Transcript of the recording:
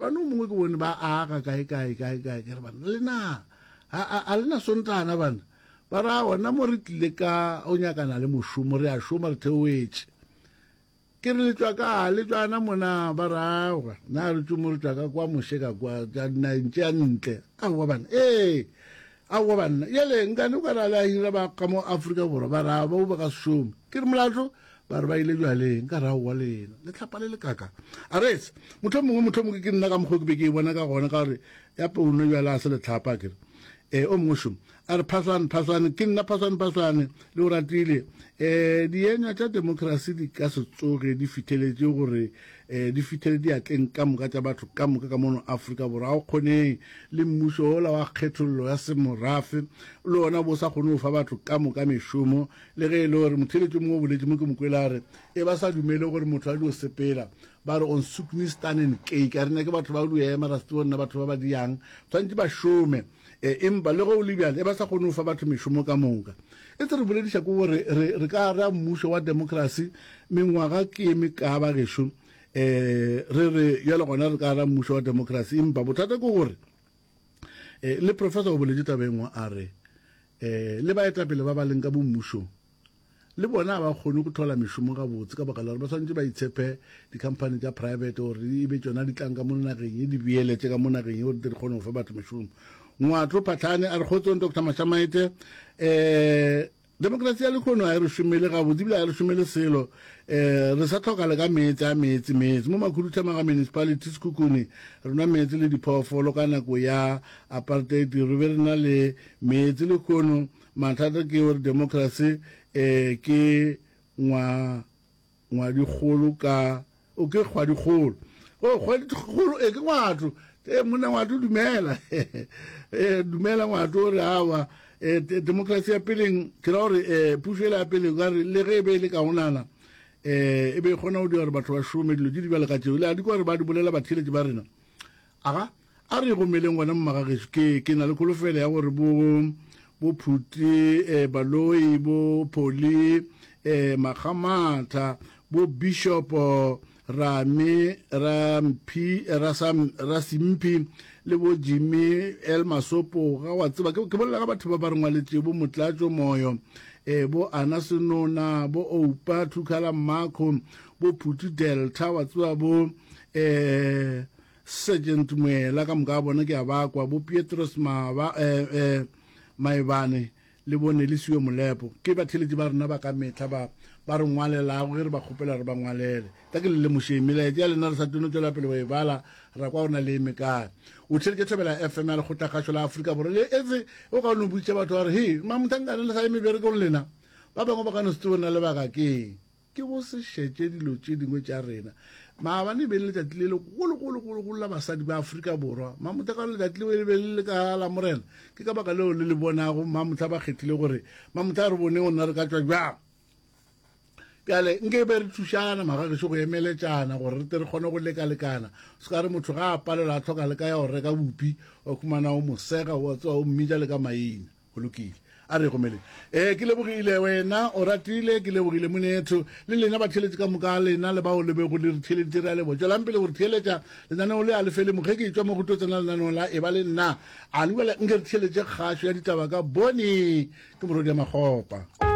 Maabane o mongwe ke bone ba aga kae kae kae kae ke re bana le na a a a le na sontana bana ba ra ona mo re tlile ka o nyakana le mošomo re a šoma re theoetše Ke re le tšwa ka, le tšwana mona, ba re aowa, na re tšo mo re tšwa ka kwa moše ka kwa, tša dinageng tša ntle. Aowa bana, ee, aowa banna, yele nkane o ka re a le a hira ba ka mo Afrika Borwa, ba re aowa, ba ba ka se šome. Ke re molato, ba re ba ile bjaleng, ka re aowa lena, le tlhapa le le kaka. A re etse, mohlomongwe, mohlomongwe ke nna ka mokgwa ke be ke e bona ka gona, ka gore ya peuno bjale a se letlhapa, ke re. Ee, o mongwe šomo. A re, Phaswane, Phaswane, ke nna Phaswane, Phaswane, le o ratile. E, dienywa tša demokrasi di ka se tsoge di fitheletše gore e, di fithele diatleng ka moka tša batho ka moka ka mono Afrika Borwa. Ga go kgoneng. Le mmušo wola wa kgethollo ya semorafe le wona bo sa kgone go fa batho ka moka mešomo, le ge e le gore motheeletši o mongwe o boletše mo ke mo kwele a re, E ba sa dumele gore motho a dio sepela, ba re on soeknistanen keik, a re nyake batho ba dio ema, ra se tsebe nna batho ba ba diang, tshwanetše ba šome. E, empa le ge o le bjale, e ba sa kgone go fa batho mešomo ka moka. E tse re bolediša ke gore re, re ka ra mmušo wa demokrasi mengwaga ke ye mekaa bagešo, e, re re bjale gona re ka ra mmušo wa demokrasi, empa bothata ke gore e, le professor o boletše taba e nngwe a re e, le baetapele ba ba leng ka bommušong Le bona ga ba kgone go thola mešomo gabotse ka baka la gore ba swanetše ba itshepe dikhamphani tša private gore e be tšona di tlang ka mo nageng ye di beeletše ka mo nageng ye gore di kgone go fa batho mešomo. Ngwatlo Phahlane a re kgotsong Doctor Mashamaite um demokrasi ya lekgono ga e re šomele gabotse ebile ga e re šomele selo um re sa tlhoka le ka meetse a meetse meetse mo Makhuduthamaga municipality Sekhukhune re nwa meetse le diphoofolo ka nako ya apartheid re be re na le meetse lekgono Mathata ke gore democracy eh ke ngwa ngwadikgolo ka o ke kgwadikgolo o kgwadikgolo e ke ngwatho e monna ngwatho dumela e dumela ngwatho o re awa e democracy ya peleng ke ra gore e pušo ele ya peleng ka re le ge e be e le kaonana e e be e kgona go dira gore batho ba šome dilo tše di bjale ka tšeo le a di kwa gore ba di bolela batheeletši ba rena Aga, a re gomeleng gona mmagagešo, ke, ke na le kholofelo ya gore bo, bo Phuti, eh, Baloi, bo Pholi, eh, Makgamatha, bo Bishopo, Rame, Ramphi, Rasam, Rasimphi, le bo Jimmy L. Masopo, ga wa tseba, ke, ke bolela ka batho ba ba re ngwaletšego, bo Motlatšo Moyo, eh, bo Ana Senona, bo Oupa Thukhala Mmakho, bo Phuti Delta, wa tseba, bo, eh, Sergeant Moela ka moka bona ke a ba kwa, bo Pietros Maba, eh, eh, Maebane le bo Nelisiwe Molepo. Ke batheeletši ba rena ba ka mehla ba, ba re ngwalelago ge re ba kgopela re ba ngwalele. Tla ke le lemošeng, melaetša ya lena re sa tlo no tšwela pele go e bala, ra kwa go na le e mekae. O theeletše Thobela FM ya Lekgotlakgašo la Afrika Borwa. Le etse o ka no botšiša batho ba re, Hei, mamothangane le sa ye meberekong lena? Ba bangwe ba ka no se tsebe na lebaka ke eng. Ke go se šetše dilo tše dingwe tša rena. Maabane e be e le letšatši le legolo-golo-golo-golo la basadi ba Afrika Borwa. Mamohla ka gore letšatši leo e be le le ka Lamorena, ke ka baka leo le le bonago mamohla ba kgethile gore mamohla re bone gona re ka tšwa bjang. Bjale nke be re thušana magagešo go emeletšana gore re tle re kgone go lekalekana. Se ka re motho ga a palelwa a tlhoka le ka ya go reka bupi, wa khumana o mo sega, wa tseba o mmitša le ka maina. Go lokile. A re gomeleng. Ee, ke lebogile wena, o ratile, ke lebogile monetho, le lena batheeletši ka moka, lena le bao le bego le re theeleditše, re a leboga. Tšwelang pele go re theeletša, lenaneo le a le fele mo. Ge ke etšwa mo go tlo tsena lenaneong la Eba le Nna. A le bjale nke re theeletše kgašo ya ditaba ka Boni, ke morwedi ya Makgopa.